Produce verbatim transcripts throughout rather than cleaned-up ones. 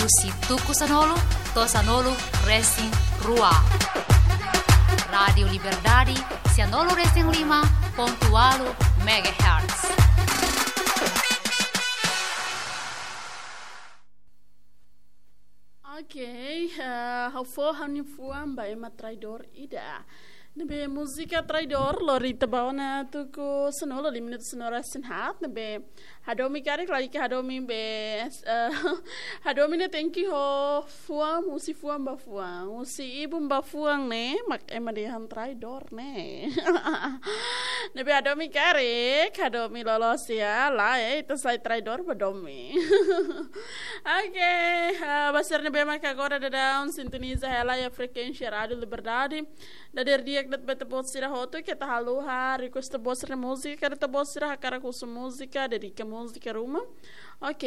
Husi tuku sanulu to'o sanulu resin rua. Rádiu Liberdade, sanulu resin lima pontu ualu megahertz. Ok, eh, ha'u fó ha'u-nia fuan ba ema traidór ida. Ne'ebé múzika Traidór lori ita ba ona tuku sanulu, lima minutu sanulu resin haat, ne'ebé hadomi karik lagi ke hadomi be, eh, hadomi ne'e tenke ho fuan, husi fuan ba fuan, husi ibun ba fuan ne'e, mak ema dehan traidór ne'e. Ne'ebé hadomi karik, hadomi loloos iha, lae, ita sai traidór ba domin. Ok, ah, ba sira ne'ebé maka agora daudaun sintoniza hela iha frekuénsia Rádiu Liberdade. Dadeer di'ak de'it ba ita-boot sira hotu, keta haluha request ita-boot sira múzika, keta ita-boot sira hakarak husu múzika, dedika múzika ruma. Ok,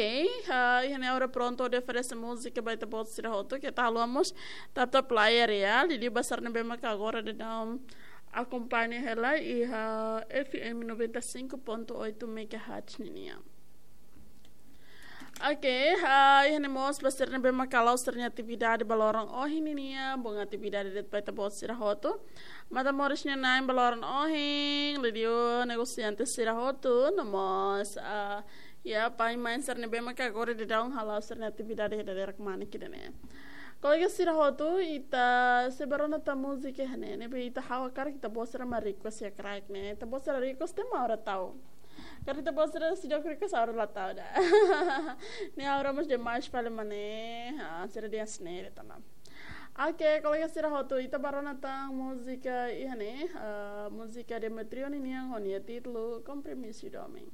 ah, iha ne'e agora prontu hodi oferese múzika ba ita-boot sira hotu, keta haluha mós tap tap layar ya, liuliu ba sira ne'ebé maka agora daudaun akompaña hela iha F M noventa e cinco ponto oito megahertz ninian. Ok, ah, iha ne'e mós ba sira ne'ebé maka hala'o sira-nia atividade ba loron ohin ninian, bom atividade de'it ba ita-boot sira hotu. Matan-moris nia na'in ba loron ohin, liuliu negosiante sira hotu, no mós, ah, ya, pai-mãe sira ne'ebé maka agora daudaun hala'o sira-nia atividade iha dadeer kmanek ida-ne'e. Kolega sira hotu, ita sei bá rona tan múzika iha ne'e, ne'ebé ita ha'u hakarak ita-boot sira mak request iha kraik ne'e. Ita-boot sira request ema agora tau. Karik ita-boot sira seidauk request agora la tau ida. Ne'e agora mós demais fali mak ne'e, ah, sira dehan sneire tanam. Ok, kolega sira hotu, ita bá rona tan múzika iha ne'e, ah, múzika Demetrio ninian ho nia títulu Kompromisu Domin.